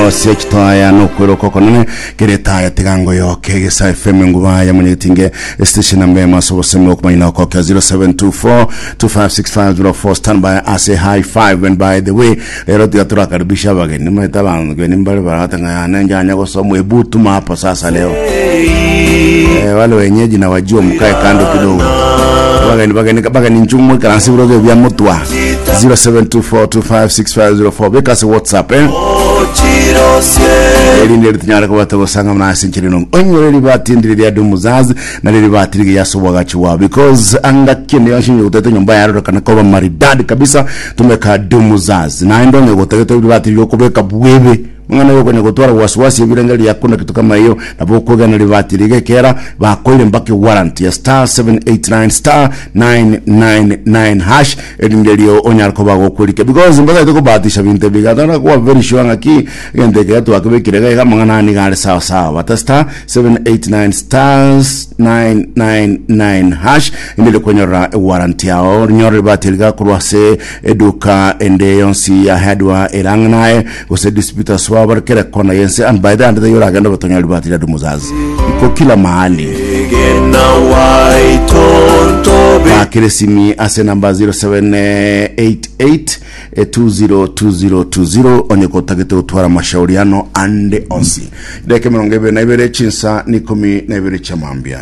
Korosia chitoaya nokweroka okonene kere etaya tigango yoke Egesa FM enguba ya Mwanyagetinge estation namba emo ase obosemi okomanya na okokia 0724 256504 stand by ase high five. And by the way, rero tiga turakaribisha abageni maete abageni mbare barate ng'a yane njanya gosoma ebutuma hapa sasa leo. Eh, wale wenyeji na wajua mkae kando kidogo. Bageni bageni bageni nchumwe karansi buroge bya mutwa 0724256504 beka ase WhatsApp, eh erinde ritinyare kobata gosanga muna ase enchera eno onyore ribati ndire ria dumuzazi na riri bati rige yase obwagachi bwao, because anga kende yonsi onye gotete nyomba yarorokana koba maridadi kabisa, tumeka dumuzazi. Naende onye gotagete ribati riria okobeka bwebe mang'ana yokonya gotwara wasiwasi ebirenge riakuna kitu kama hiyo, nabo okwegena ribati riga ekera bakoire mpaka warranty ya star 789 star 999 hash, erinde rio onyare koba gokwerika, because mbataete kobahatisha binto ebi gatara kuba very sure ng'aki egento eke twakebekire iga iga amang'ana aya nigo are sawa sawa. Bata star 789 stars 999 hash inde rikwenyorera ewarranty yao, rinyore ribati riga korwa ase eduka ende yonsi ya hardware erang'e naye gose distributors wabo bare kera kona yense. And by the end the yoragenda gotonyora ribati ria Dumuzazi iko kila mahali. Bakire simi ase namba 0788 202020 onye kotagete gotwara mashauriano ande onsi. Dakika 22 chinsa ni 12 chia mambia.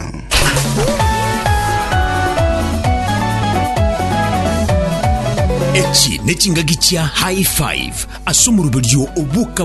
Echi nechingaki chia High Five ase omoroberio oboka.